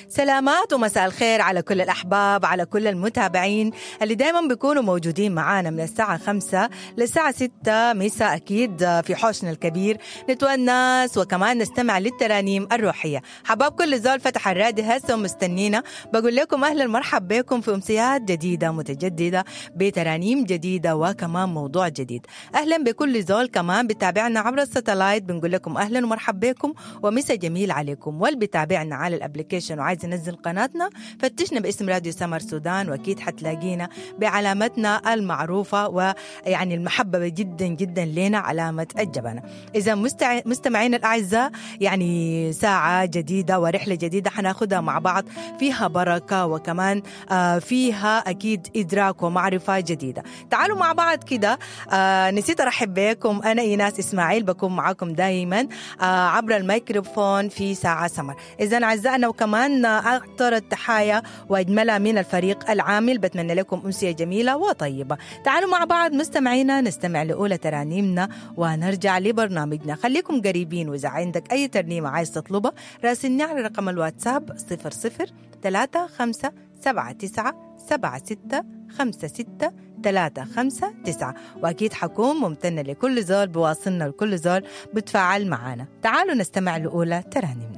سلامات ومساء الخير على كل الأحباب، على كل المتابعين اللي دايما بيكونوا موجودين معانا من الساعة 5 للساعة 6 مساء، أكيد في حوشنا الكبير نتونس وكمان نستمع للترانيم الروحية. حباب كل زول فتح الراديو هسه ومستنينا، بقول لكم أهلا مرحب بكم في أمسيات جديدة متجددة بترانيم جديدة وكمان موضوع جديد. أهلا بكل زول كمان بتابعنا عبر ال satellite، بنقول لكم أهلا ومرحب بكم ومسا جميل عليكم. واللي بتابعنا على ال application وعايز ينزل قناتنا فتشنا باسم راديو سمر سودان، واكيد حتلاقينا بعلامتنا المعروفة ويعني المحببة جدا جدا لنا، علامة الجبنة. اذا مستمعينا الاعزاء، يعني ساعة جديدة ورحله جديدة حناخدها مع بعض، فيها بركة وكمان فيها اكيد ادراك ومعرفة جديدة. تعالوا مع بعض كده. نسيت ارحب بكم، انا ايناس اسماعيل بكون معاكم دائما عبر الميكروفون في ساعة سمر. اذا اعزائنا وكمان أعطر التحايا وأجملها من الفريق العامل، بتمنى لكم أمسية جميلة وطيبة. تعالوا مع بعض مستمعينا نستمع لأولى ترانيمنا ونرجع لبرنامجنا. خليكم قريبين، وإذا عندك أي ترنيمة عايز تطلبها راسلني على رقم الواتساب 00 35 79 76 56 359، وأكيد حكون ممتنة لكل زول بواصلنا لكل زول بتفاعل معنا. تعالوا نستمع لأولى ترانيمنا.